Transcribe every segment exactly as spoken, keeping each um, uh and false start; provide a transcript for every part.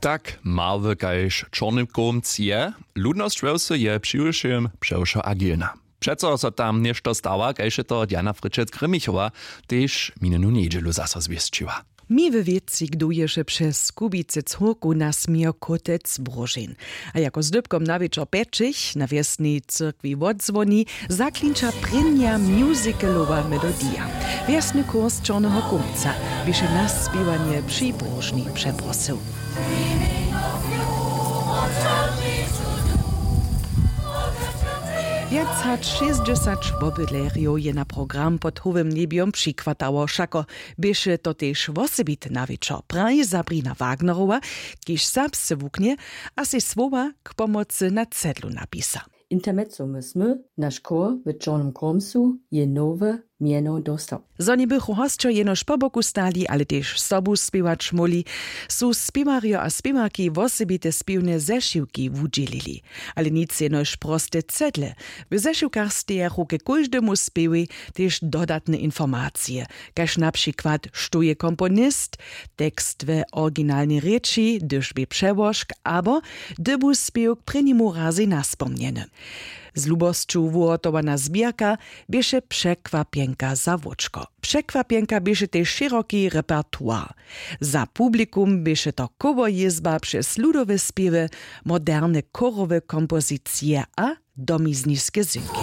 Tak marły kaž čorny kołmc je, ludnosć wjosu je přiwšěm přewšo agilna. Přeco so tam něšto stawa, kaž je to Diana Fryčec-Grimmichowa tež minjenu njedźelu zaso zwěsćiła. Mi we wěci kdo ješe přez kubicy córku nasmějo kótec bróžeń. A jako zdypkom na wječor pjećich na wjesnej cyrkwi wotzwoni, zaklinča prěnja musicalowa melodija. Wjesny kurs čorneho kómca běše na spěwanje při bróžni přeprosył. Wjac hač šěsćdźesać wobydlerjow je na program pod howym njebjom přichwatało. Wšako běše to tež wosebity nawječor, praji Sabrina Wagnerowa, kiž serbsce wuknje a sej słowa k pomocy na cedlu napisa. Intermezzo my smy, naš chór w čornym kómcu je nowe mjeno dóstał. Zo njebychu hosćo jenož po boku stali, ale tež sobu spěwać móhli, su spěwarjo a spěwarki wosebite spěwne zešiwki wudźělili. Ale nic jenož proste cedle. W zešiwkach stejachu ke kóždemu spěwej tež dodatne informacije, kaž na přikład, štó je komponist, tekst we originalnej rěči, hdyž bě přełožk, abo hdy bu spěw k prěnjemu razej naspomnjeny. Z lubosću wuhotowana zběrka běše překwapjenka za wóčko. Překwapjenka běše tež šěroki repertoir. Za publikum běše to chórjězba přez ludowe spěwy, moderne chórowe kompozicije a domizniske zynki.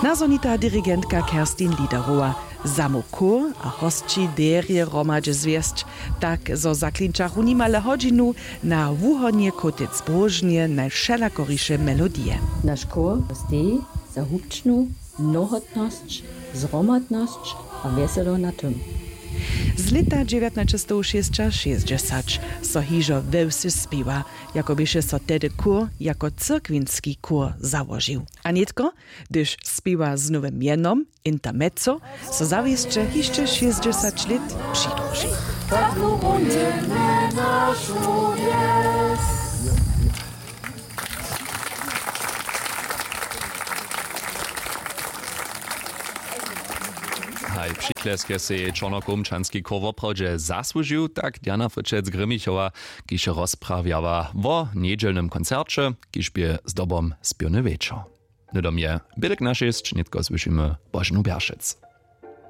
Nazhonita dirigentka Kerstin Liederowa. Zamołkow a hosći derje hromadźe zwjesć, tak zo zaklinčachu nimale hodźinu na wuhonje kótec bróžnje najwšelakoriše melodije. Naš chór steji za hubčnu mnohotnosć, zhromadnosć a wjeselo na tym. Z lěta dźewjatnaćestowšěsćašěsćdźesać so hižo we wsy spěwa, jako běše so tehdy chór jako cyrkwinski chór załožił. A nětko, hdyž spěwa z nowym mjenom Intermezzo, so zawěsće hišće šěsćdźesać lět přidruži. Haj, přiklesk je sej čornokołmčanski chór woprawdźe zasłužił, tak Diana Fryčec-Grimmichowa, kiž je rozprawjała wo njedźelnym koncerće, kiž bě zdobom spěwny wječor. Hnydom je bědek na šěsć, nětko słyšimy Boženu Bjeršec.